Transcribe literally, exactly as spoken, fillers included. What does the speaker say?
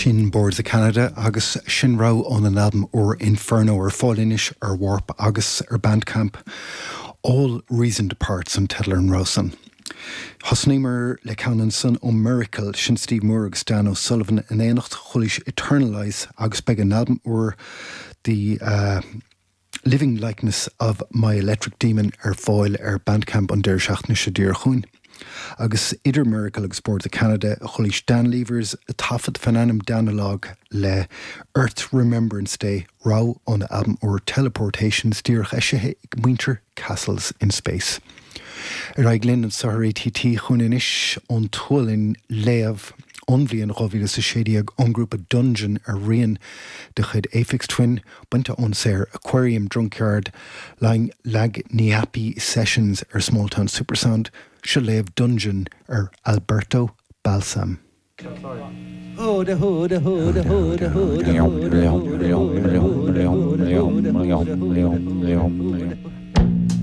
Sin Boards of Canada agus sin rogha óna n-albam úr Inferno ar fáil anois ar Warp agus ar Bandcamp. All Reason Departs an teideal ar an rogha san. Thosnaíomar le ceann ansan ó Miracle sin Steve Moore agus Dan O'Sullivan in éineacht chualaís Eternalize agus beidh an albam úr the uh, Living Likeness of My Electric Demon ar fáil ar Bandcamp an deireadh seachtaine seo díreach chugainn. Agus idir Miracle agus Boards of Canada chualaís Dan Levers a taifead faoin ainm Danalogue le Earth Remembrance Day rogha ón albam úr Teleportations díreach eisithe ag muintir Castles in Space. Ar aghaidh linn anseo ar ATT chugainn anois ón tSualainn léamh ón bhliain dhá mhíle is a sé déag ón ngrúpa Dungeon ar rian de chuid Aphex Twin bainte ón saothar Aquarium Drunkyard Lagniappe Sessions ar Smalltown Supersound seo léamh Dungeon ar Alberto Balsam. Hoda hoda hoda hoda hoda hoda hoda hoda hoda hoda hoda hoda.